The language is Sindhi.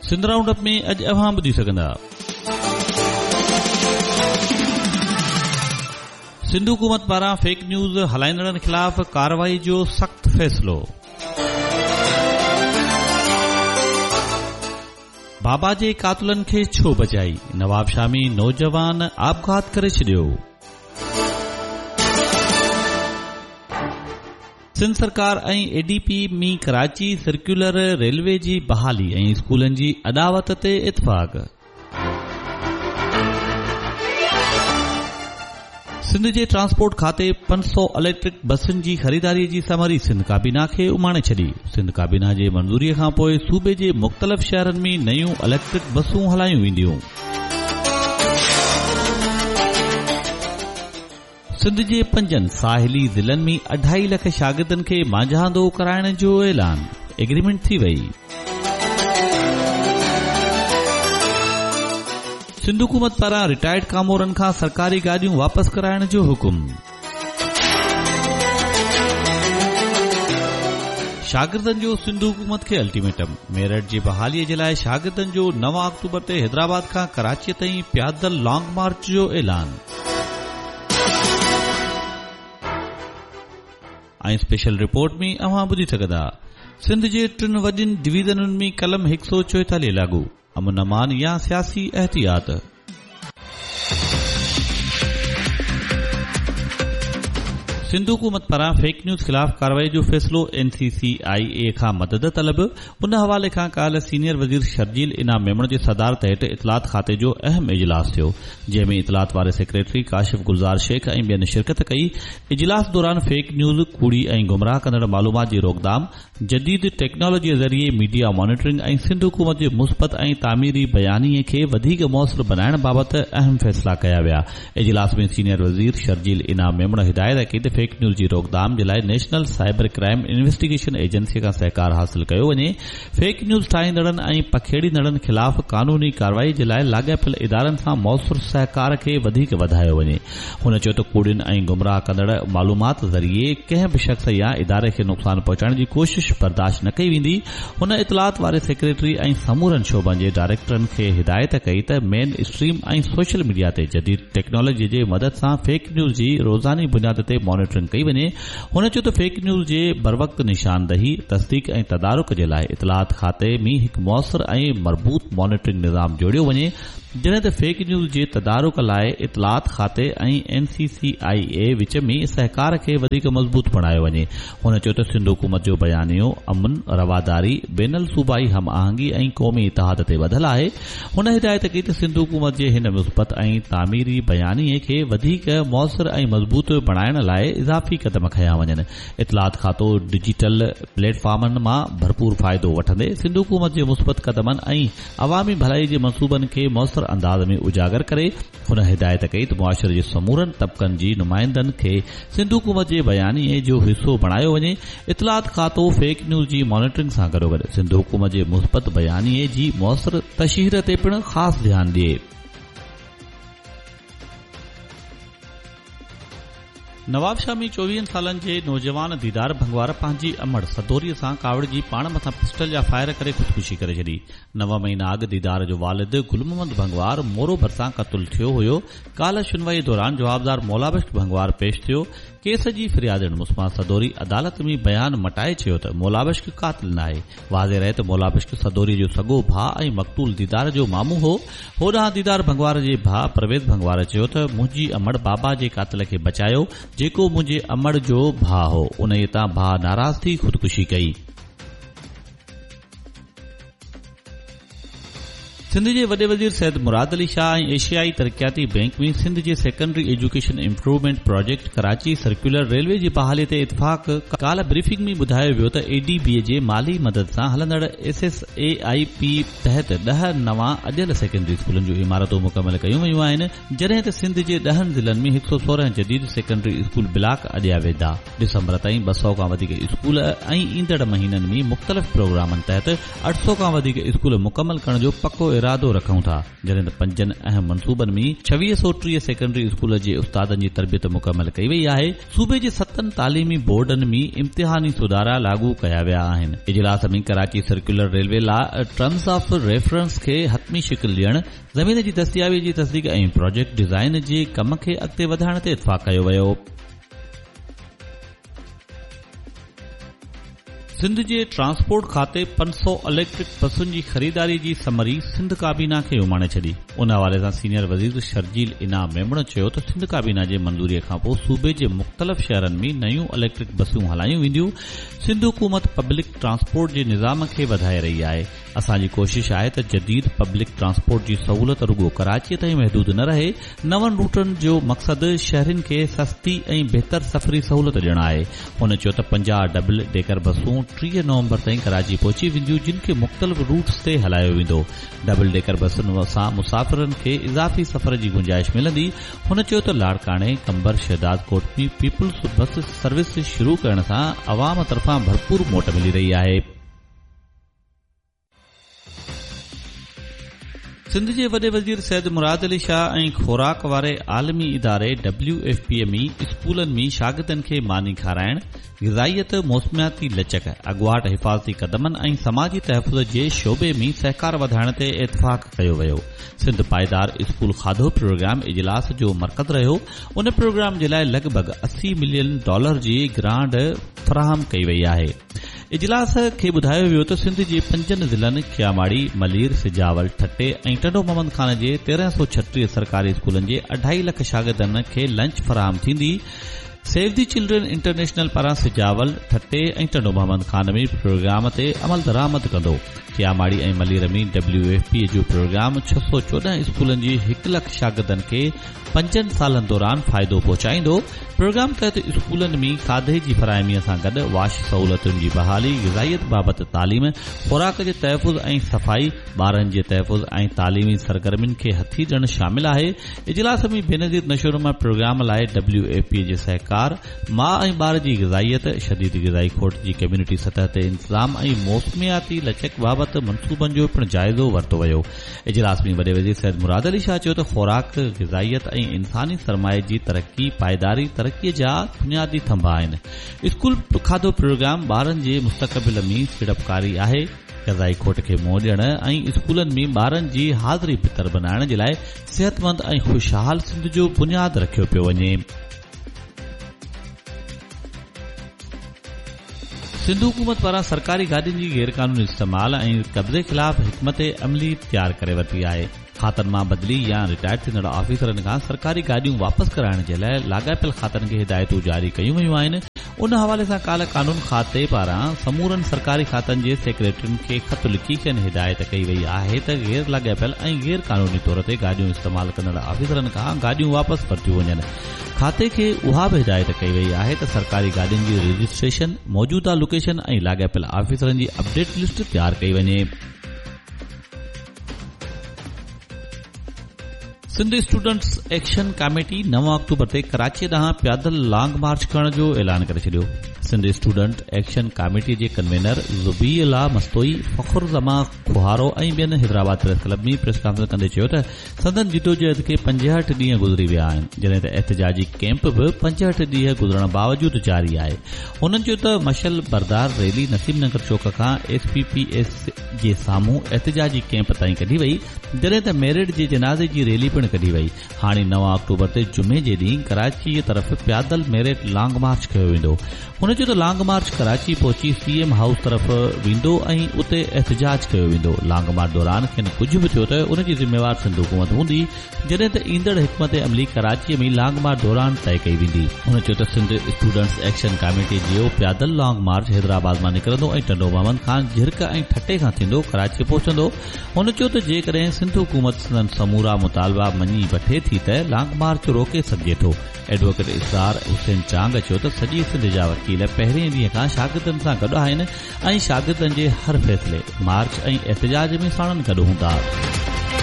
سنڌ رائونڊ اپ ۾ اڄ اوهان ٻڌي سگهندا. سنڌ حڪومت پاران فيڪ نيوز هلائيندڙن خلاف ڪارروائي جو سخت فيصلو. بابا جي قاتلن کي ڇو بچائي نوابشاهه ۾ نوجوان آپگهات ڪري ڇڏيو. سنڌ سرڪار ۽ A D P ۾ Karachi circular railway جي بحالي ۽ اسڪولن جي اڏاوت تي اتفاق. سنڌ جي ٽرانسپورٽ کاتي 500 اليڪٽرڪ بسن جي خريداري جي سمري سنڌ ڪابينا کي اماڻي ڇڏي. سنڌ ڪابينا جي منظوري کانپوء صوبي جي مختلف شهرن ۾ نيون اليڪٽرڪ بسون هلايون وينديون. سنڌ جي پنجن ساحلي ضلعن ۾ اڍائي لک شاگردن کي مانجهاندو ڪرائڻ جو اعلان، ايگريمينٽ ٿي وئي. سنڌ حڪومت پاران رٽائرڊ ڪامورن کان سرڪاري گاڏيون واپس ڪرائڻ جو حڪم. شاگردن جو سنڌ حڪومت کي الٽيميٽم، ميرٽ جي بحالي جي لاء شاگردن جو 9 آڪٽوبر تي حيدرآباد کان ڪراچي تائين پيادل لانگ مارچ جو اعلان. ۽ اسپيشل رپورٽ ۾ اوهان ٻڌي سگهندا سنڌ جي ٽن وڏين ڊويزنن ۾ قلم 144 لاڳو، امن امان يا سياسي احتياط. سنڌ حڪومت پاران فيڪ نيوز خلاف ڪارروائي جو فيصلو، اين سي سي آء اي کان مدد طلب، ان حوالي کان ڪالهه سينيئر وزير شرجيل انعام ميمڻ جي صدارت هيٺ اطلاعات کاتي جو اهم اجلاس ٿيو، جنهن ۾ اطلاعات واري سيڪريٽري ڪاشف گلزار شيخ ۽ ٻين شرڪت ڪئي. اجلاس دوران فيڪ نيوز، ڪوڙي ۽ گمراهه ڪندڙ معلومات جي روڪٿام، جديد ٽيڪنالاجي ذريعي ميڊيا مانيٽرنگ ۽ سنڌ حڪومت جي مثبت ۽ تعميري بيانيي کي وڌيڪ موثر بنائڻ بابت اهم فيصلا ڪيا ويا. اجلاس ۾ سينيئر وزير شرجيل انعام ميمڻ هدايت ڪئي ته فيڪ نيوز جي روڪٿام جي لاء national cyber crime investigation agency کان سهڪار حاصل ڪيو وڃي، فيڪ نيوز ٺاهيندڙن ۽ پکيڙيندڙن خلاف قانوني ڪارروائي جي لاء لاڳاپيل ادارن سان موثر سهڪار کي وڌيڪ وڌايو وڃي. هن چيو ته ڪوڙين ۽ گمراهه ڪندڙ معلومات ذريعي ڪنهن به شخص يا اداري کي نقصان پهچائڻ جي ڪوشش برداشت نه ڪئي ويندي. هن اطلاعات واري سيڪريٽري ۽ سمورن شعبن جي ڊائريڪٽرن کي هدايت ڪئي ته مين اسٽريم ۽ سوشل ميڊيا تي جديد ٽيڪنالاجي جي مدد سان فيڪ نيوز جي روزاني بنياد تي مانيٽرنگ ڪئي وڃي. هن چيو ته فيڪ نيوز جي بروقت نشاندهي، تصديق ۽ تدارڪ جي لاء اطلاعات کاتي ۾ هڪ موثر ۽ مربوط مانيٽرنگ نظام جوڙيو وڃي. جڏهن ته فيڪ نيوز جي تدارڪ لاء اطلاعات کاتي ۽ اين سي سي آء اي وچ ۾ سهڪار کي وڌيڪ مضبوط بڻايو وڃي. هن چيو ته سنڌ حڪومت جو بيانيو امن، رواداري، بين الصوبائي هم آهنگي ۽ قومي اتحاد تي ٻڌل آهي. هن هدايت ڪئي ته سنڌ حڪومت جي هن مثبت ۽ تعميري بيانيي کي وڌيڪ موثر ۽ مضبوط بڻائڻ لاء اضافي قدم کنيا وڃن. اطلاعات کاتو ڊجيٽل پليٽ فارمن مان ڀرپور فائدو وٺندي سنڌ حڪومت جي مثبت قدمن ۽ عوامي ڀلائي جي منصوبن کي موثر انداز ۾ اجاگر ڪري. هن هدايت ڪئي ته معاشري جي سمورن طبقن جي نمائندن کي سنڌ حڪومت جي بيانيي جو حصو بڻايو وڃي. اطلاعات کاتو فيڪ نيوز جي مانيٽرنگ سان گڏوگڏ سنڌ حڪومت جي مثبت بيانيي جي موثر تشهير تي پڻ خاص ڌيان ڏئي. نوابشاهه ۾ چوويهن سالن جي نوجوان ديدار ڀنگوار پنهنجي امڙ سدوريء سان ڪاوڙجي پاڻ مٿان پسٽل جا فائر ڪري خودڪشي ڪري ڇڏي. نو مهينا اڳ ديدار جو والد گل محمد ڀنگوار مورو ڀرسان قتل ٿيو هيو. ڪالهه شنوائي دوران جوابدار مولابخش ڀنگوار پيش ٿيو. ڪيس جي فريادڻ مسما سدوري عدالت ۾ بيان مٽائي چيو ته مولابخش قاتل ناهي. واضح رهي ته مولابخش سدوري جو سڳو ڀاء ۽ مقتول ديدار جو مامو هو. هوڏانهن ديدار ڀنگوار جي ڀاء پرويز ڀنگوار چيو ته منهنجي امڙ بابا جي قاتل کي بچايو جيڪو منهنجي امڙ جو ڀاء هو انهيء تان ڀاء ناراض ٿي خودڪشي ڪئي. سنڌ جي وڏي وزير سيد مراد علي شاهه ۽ ايشيائي ترقياتي بئنڪ ۾ سنڌ جي secondary education improvement project Karachi circular railway جي بحالي تي اتفاق، ڪالهه بريفنگ ۾ ٻڌايو ويو ته اي ڊي بي جي مالي مدد سان هلندڙ ايس ايس اي آء پي تحت ڏهه نوان اڏيل سيڪنڊري اسڪولن جون عمارتون مڪمل ڪيون ويون آهن جڏهن ته سنڌ جي ڏهن ضلعن ۾ 116 جديد سيڪنڊري اسڪول بلاڪ اڏيا ويندا. ڊسمبر تائين 200 کان وڌيڪ اسڪول ۽ ايندڙ مهينن ۾ مختلف پروگرامن تحت 800 کان وڌيڪ اسڪول مڪمل ڪرڻ جو پڪو ارادو. ارادو رکون ٿا، جڏهن ته پنجن اهم منصوبن ۾ 2630 سيڪنڊري اسڪول جي استادن جي تربيت مڪمل ڪئي وئي آهي، صوبي جي ستن تعليمي بورڊن ۾ امتحاني سڌارا لاڳو ڪيا ويا آهن. اجلاس ۾ ڪراچي سرڪيولر ريلوي لاء ٽرمز آف ريفرنس کي حتمي شڪل ڏيڻ، زمين جي دستيابي جي تصديق ۽ پراجيڪٽ ڊيزائن جي ڪم کي اڳتي وڌائڻ تي اتفاق ڪيو ويو. سنڌ جي ٽرانسپورٽ کاتي 500 اليڪٽرڪ بسن جي خريداري جي سمري سنڌ ڪابينا کي اماڻي ڇڏي. ان حوالي سان سينيئر وزير شرجيل انعام ميمڻ چيو ته سنڌ ڪابينا جي منظوري کانپوء صوبي جي مختلف شهرن ۾ نيون اليڪٽرڪ بسون هلايون وينديون، سنڌ حڪومت پبلڪ ٽرانسپورٽ جي نظام کي وڌائي رهي آهي، اسان جي ڪوشش آهي ته جديد پبلڪ ٽرانسپورٽ جي سهولت رڳو ڪراچي تائين محدود نه رهي، نون روٽن جو مقصد شهرين کي سستي ۽ بهتر سفري سهولت ڏيڻ آهي. هن چيو ته 50 ڊبل ڊيڪر بسون 30 نومبر تائين ڪراچي پهچي وينديون جن کي مختلف روٽس تي هلايو ويندو. ڊبل ڊيڪر بسن سان مسافرن کي اضافي سفر جي گنجائش ملندي. هن چيو ته لاڙڪاڻي، Qambar, Shahdadkot ۾ peoples bus service شروع ڪرڻ سان عوام طرفان ڀرپور موٽ ملي رهي آهي. سنڌ جي وڏي وزير سيد مراد علي شاهه ۽ خوراڪ واري عالمي اداري ڊبليو ايف پي ۾ اسڪولن ۾ شاگردن کي ماني کارائڻ، غذائيت، موسمياتي لچڪ، اڳواٽ حفاظتي قدمن ۽ سماجي تحفظ جي شعبي ۾ سهڪار وڌائڻ تي اتفاق ڪيو ويو. سنڌ پائيدار اسڪول کاڌو پروگرام اجلاس جو مرڪز رهيو. ان پروگرام جي لاء لڳ ڀڳ 80 ملين ڊالر جي گرانٽ فراهم ڪئي وئي آهي. اجلاس کي ٻڌايو ويو ته سنڌ جي پنجن ضلعن ڪياماڙي، ملير، سجاول، ٺٽي ۽ ٽنڊو محمد خان جي 1336 سرڪاري اسڪولن جي اڍائي لک شاگردن کي لنچ فراهم ٿيندي. سيو the children international پاران سجاول، ٺٽي ۽ ٽنڊو محمد خان ۾ پروگرام تي عملدرآمد ڪندو. Kemari ۽ Malir ۾ W F P جو پروگرام 614 اسڪولن جي هڪ لک شاگردن کي پنجن سالن دوران فائدو پهچائيندو، پروگرام تحت اسڪولن ۾ کاڌي جي فراهمي سان گڏ واش سهولتن جي بحالي، غذائيت بابت تعليم، خوراڪ جي تحفظ ۽ صفائي، ٻارن جي تحفظ ۽ تعليمي سرگرمين کي هٿي ڏيڻ شامل آهي. اجلاس ۾ بينظير نشونما پروگرام لاء ڊبليو ايف پي جي سهڪار، ماء ۽ ٻار جي غذائيت، شديد غذائي کوٽ جي ڪميونٽي سطح تي انتظام ۽ موسمياتي لچڪ بابت منصوبن جو پڻ جائزو ورتو ويو. اجلاس ۾ وڏي وزير سيد مراد علي شاهه چيو ته خوراڪ، غذائيت ۽ انساني سرمائي جي ترقي پائيداري ترقي جا بنيادي ٿنڀا آهن، اسڪول کاڌو پروگرام ٻارن جي مستقبل ۾ سيڙپڪاري آهي، غذائي کوٽ کي منهن ڏيڻ ۽ اسڪولن ۾ ٻارن جي حاضري بھتر بنائڻ جي لاء صحتمند ۽ خوشحال سنڌ جو بنياد رکيو پيو وڃي. سنڌ حڪومت پاران سرڪاري گاڏين جي غيرقانوني استعمال ۽ قبضي خلاف حڪمت عملي تيار ڪري ورتي آهي. کاتن مان بدلي يا رٽائرڊ ٿيندڙ آفيسرن کان سرڪاري گاڏيون واپس ڪرائڻ جي لاء لاڳاپيل کاتن کي هدايتون جاري ڪيون ويون آهن. ان حوالي سان ڪالهه قانون کاتي پاران سمورن سرڪاري کاتن جي سيڪريٽرين کي خط لکي کين هدايت ڪئي وئي آهي ته غير لاڳاپيل ۽ غير قانوني طور تي گاڏيون استعمال ڪندڙ آفيسرن کان گاڏيون واپس ورتيون وڃن. کاتي کي اها به هدايت ڪئي وئي آهي ته سرڪاري گاڏين جي رجسٽريشن، موجوده لوڪيشن ۽ لاڳاپيل آفيسرن جي اپڊيٽ لسٽ تيار ڪئي وڃي. Sindh students action committee 9 October تي ڪراچي ڏانهن پيادل لانگ مارچ ڪرڻ جو اعلان ڪري ڇڏيو. سنڌ اسٽوڊنٽ ايڪشن ڪاميٽي جي ڪنوينر ذبيح الله مستوئي، فخر زمان کوهارو ۽ ٻين Hyderabad press club ۾ press conference ڪندي چيو ته سندن جدوجهد کي 65 ڏينهن گذري ويا آهن، جڏهن ته احتجاجي ڪئمپ به 65 ڏينهن گذرڻ باوجود جاري آهي. هنن چيو ته مشعل بردار ريلي نسيم نگر چوڪ کان ايس پي پي ايس جي سامهون احتجاجي ڪئمپ تائين ڪڍي وئي، جڏهن ته ميرٽ جي جنازي جي ريلي پڻ ڪڍي وئي. هاڻي 9 آڪٽوبر تي جمعي جي ڏينهن ڪراچيء طرف پيادل ميرٽ لانگ مارچ ڪيو ويندو. هن چيو ته لانگ مارچ ڪراچي پهچي سي ايم هائوس طرف ويندو ۽ اتي احتجاج ڪيو ويندو، لانگ مارچ دوران کين ڪجهه به ٿيو ته ان جي ذميوار سنڌ حڪومت هوندي، جڏهن ته ايندڙ حڪمت عملي ڪراچيء ۾ لانگ مارچ دوران طئي ڪئي ويندي. هن چيو ته سنڌ اسٽوڊنٽس ايڪشن ڪاميٽي جو پيادل لانگ مارچ حيدرآباد مان نڪرندو ۽ ٽنڊو محمد خان، جهرڪ ۽ ٺٽي کان ٿيندو ڪراچيء پهچندو. هن چيو ته جيڪڏهن سنڌ حڪومت سندن سمورا مطالبا مڃي وٺي ٿي ته لانگ مارچ روڪي سگهجي ٿو. ايڊووڪيٽ اسرار حسين چانگ چيو ته سڄي سنڌ جا وڪيل پهرين ڏينهن کان شاگردن سان گڏ آهن ۽ شاگردن جي هر فيصلي، مارچ ۽ احتجاج ۾ ساڻن گڏ هوندا.